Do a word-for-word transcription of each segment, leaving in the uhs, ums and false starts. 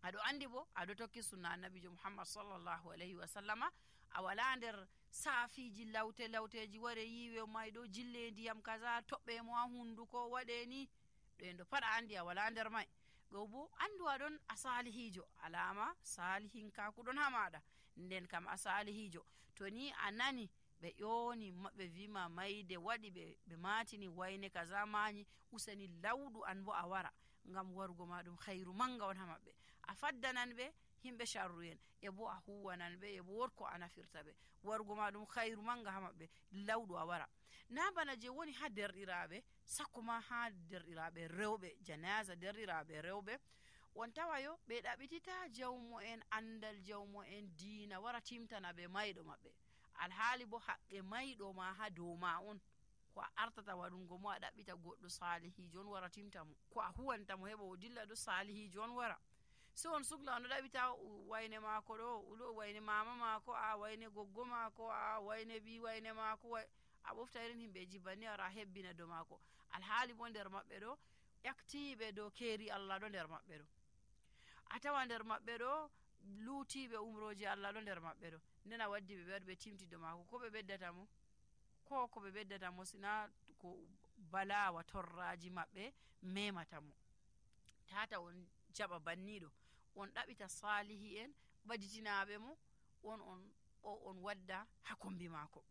aɗo andi bo aɗo tokki sunna annabijo muhammad sallallahu alayhi wa sallama a wala nder saafiji lawte lawteji ware yiwe mayɗo jille ndiyam kaza toɓɓe mo ha hunduko waɗe ni ɗo en ɗo pat a andi a wala nder may. Ɗo bo andu aɗon a salihijo, alama salihinkaku ɗon ha maɗa, nden kam a salihijo. To ni a nani ɓe ƴoni maɓɓe wima mayde waɗi ɓe ɓe matini wayne kaza mañi, usani lawɗu an bo a wara, ngam warugo ma ɗum khairu manga on ha maɓɓe. A faddanan ɓe himɓe sharru en e bo a huwanan ɓe e bo wotko a nafirta ɓe, warugo ma ɗum khairu manga ha maɓɓe, lawɗu a wara. Na bana je woni ha derɗiraɓe, sakko ma ha derɗiraɓe rewɓe, janaza derɗiraɓe rewɓe, on tawayo ɓe ɗaɓitita jawmo en andal, jawmo en diina wara timtana ɓe mayɗo maɓɓe, alhaali bo haqqe mayɗo ma ha dow ma on. Ko a artata waɗungo mo a ɗaɓɓita goɗɗo salihijo on wara timta mo, ko a huwanta mo heɓa o dilla ɗo salihijo on wara. So on sugla on ɗaɓita wayne mako ɗo, ulo wayne mama mako, a wayne goggo mako, a wayne bi wayne mako, a ɓofta irin himɓeji banni ara hebbina do mako, alhaali bo nder maɓɓe ɗo ƴaktiɓe dow keeri Allah ɗo nder maɓɓe ɗo, a tawa nder maɓɓe ɗo luutiɓe umroji Allah ɗo nder maɓɓe ɗo. Nden a waddi ɓe ɓe ɓe timti do mako, ko ɓe beddata mo, ko ko ɓe beddata mo sina ko balawa torraji maɓɓe memata mo. Tata on jaɓa banniɗo, on ɗaɓita salihi en ɓaditinaɓe mo, on on o on wadda ha kombi mako.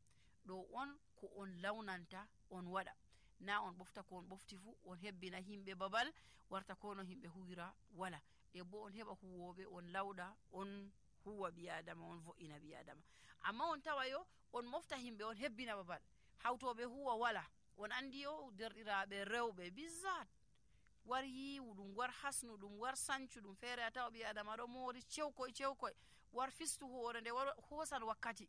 Ɗo on ko on lawnanta on waɗa, na on ɓofta ko on ɓofti fu on hebbina himɓe babal warta ko no himɓe huwira wala, e bo on heɓa huwoɓe on lawɗa, on huwa biyadama, on vo'ina biyadama. Amma on tawayo on mofta himɓe on hebbina babal, hawtoɓe huwa wala. On andi yo derɗiraɓe rewɓe bizzat war yiwu ɗum, war hasnu ɗum, war sancu ɗum, feere a tawa biyadama ɗo moori cewkoy cewkoy, war fistu hoore nde war hosan wakkati,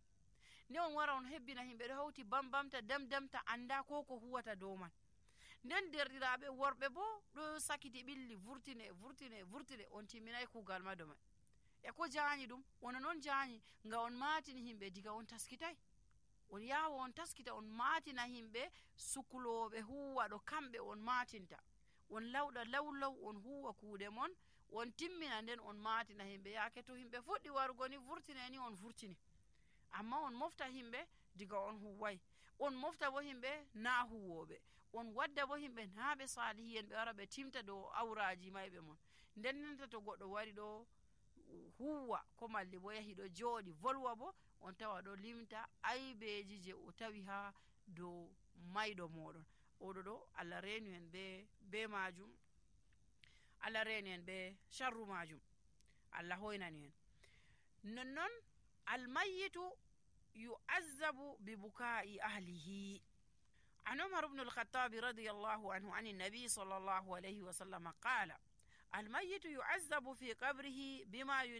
ne on wara on hebbina himɓe ɗo hawti bambamta damdamta anda ko ko huwata dow man. Nden derɗiraɓe worɓe bo ɗo sakiti ɓilli vurtine vurtine vurtine, on timminay kugal ma do mai. E ko jaanyi ɗum, wona noon jaanyi nga on matini himɓe diga on taskitay, on yawa on taskita on matina himɓe sukuloɓe huwa ɗo kamɓe on matinta, on lawɗa lawlaw on huwa kuuɗe mon, on timmina nden on matina himɓe. Yaake to himɓe fuɗɗi warugo ni vurtine ni on vurtini, amma on mofta himɓe diga on huway, on mofta bo himɓe na huwoɓe, on wadda bo himɓe na ɓe salihi en ɓe wara ɓe timta dow awraji mayɓe mon. Nden nenta to goɗɗo wari ɗo huwa ko malli bo yahi ɗo jooɗi volwa bo, on tawa ɗo limta aybeji je o tawi ha dow mayɗo moɗon. Oɗo ɗo Allah renu en be be majum, Allah renu en be sharru majum, Allah hoynani en. Nonnon almayyitu yu'azzabu bi buka'i ahlihi. An Umar ibn al-Khattab radiyallahu anhu an an-nabi sallallahu alayhi wa sallam qala almayyitu yu'azzabu fi qabrihi bima